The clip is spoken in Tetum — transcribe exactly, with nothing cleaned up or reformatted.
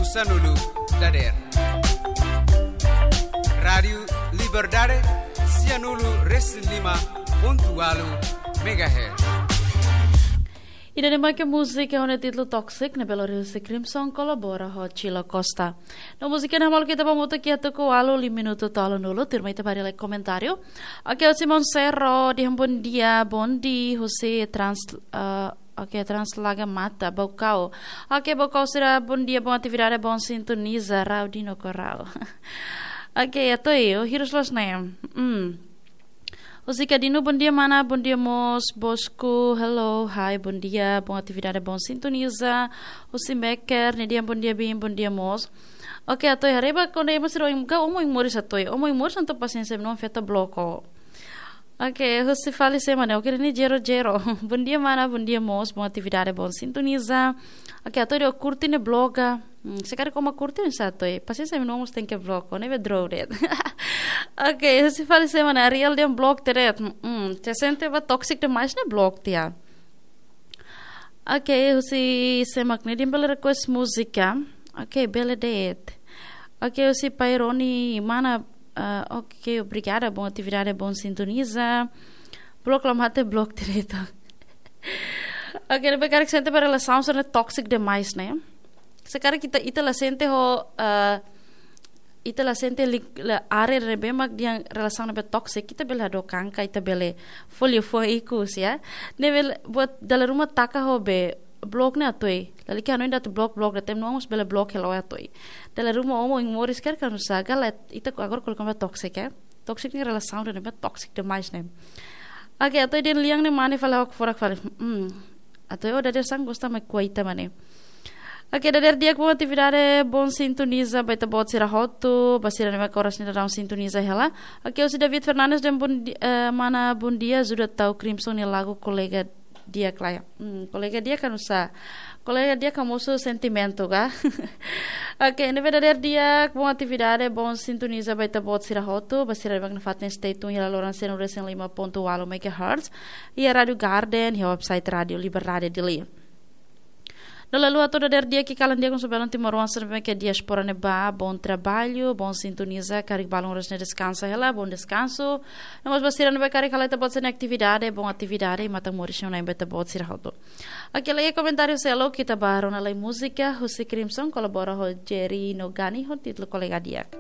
Sanulu dader. Rádiu Liberdade, sianulu resin lima pontu walu megahertz. Ida-ne'e mak múzika ho títulu Toxic, ne'ebé lori husi Crimson kolabora ho Chilo Costa. No múzika ne'e malu kita bamutu ki atu ku walu li minutu tolu nulu, tuirmai ita bá haree lai komentáriu. Oke, husi Monsero, dehan bondia, bondi, husi Trans, eh, oke, Translaga Mata, Baucau. Oke, Baucau sira bondia, boa atividade, boa sintonizasaun, Raudino Corral. Oke, atu iha, hirus los ne'e. Hmm. Husi Kadino, bondia mana, bondia mós, Bosco, hello, hi, bondia, boa atividade, boa sintonizasaun. Husi Meker, ne'e dehan bondia, bin, bondia mós. Oke, atu iha, haree ba kona-ba sira oin, ka omo oin moris atu iha. Omo oin moris entaun pasiénsia, não afeta bloku. Oke, husi fali sé mana, oke, ne'e zero zero. Bondia mana, bondia mós, boa atividade, boa sintonizasaun. Oke, atu iha, kurti ne'e bloga. Hmm, se karik ó mak kurti oinsá atu iha. Pasiénsia, mi no mós tenke bloku, ne'ebé droga de'it. Oke, husi fali sé mana, Ariel dehan bloku de'it. Hmm, se sente ba toxic demais ne'e bloku tiha. Oke, husi sé mak ne'e dehan bele request múzika. Oke, bele de'it. Oke, husi Paironi mana, ah, oke, obrigada, boa atividade, boa sintonizasaun. Bloku la mate, bloku direto. Oke, ne'ebé karik sente ba relasaun sira ne'e toxic demais, ne'e? Se karik ita, ita la sente ho, eh, ita la sente li, la área ne'ebé mak dehan relasaun ne'ebé toxic, ita bele hadook an ka ita bele fó liafuan ikus, ya. Ne'ebé buat dala ruma taka ho be bloku ne'e atu iha. Lalika hanoin atu bloku, bloku, da tem no mós bele bloku hela atu iha. Dala ruma omo oin moris karik oinsá, agora ita agora koloka ba toxic, ya. Toxic ne'e relasaun ne'ebé toxic demais, ne'e? Oke, atu iha dehan lian ne'e mane fali ha'u forak fali. Hmm. Atu iha, ó dadeer-saan gosta mai kuaita mane. Oke, dadeer di'ak, boa atividade, boa sintonizasaun ba ita-boot sira hotu, ba sira ne'ebé oras ne'e daudaun sintoniza hela. Oke, husi David Fernandes dehan bom di-, eh, mana bondia, ajuda tau Crimson nia lagu kolega di'ak lai. Hmm, kolega di'ak oinsá? Kolega di'ak ka mosu sentimentu ka? Oke, ne'ebé dadeer di'ak, boa atividade, boa sintonizasaun ba ita-boot sira hotu, ba sira ne'ebé nafatin stay tune iha loron sianulu resin lima pontu walu megahertz, iha Rádiu Garden, iha website Rádiu Liberdade Dili. No lalu atu dadeer di'ak, kalan di'ak husi belun timoroan sira ne'ebé iha diáspora ne'ebá, bom trabalho, boa sintonizasaun, karik balun oras ne'e deskansa hela, bom descanso. No mós ba sira ne'ebé karik hala'o ita-boot sira-nia atividade, boa atividade, i matan moris iha ona ba ita-boot sira hotu. Oke, la'ós komentáriu seluk, ita bá rona lai múzika, husi Crimson, kolabora ho Jerry no Gani, ho títulu Kolega Di'ak.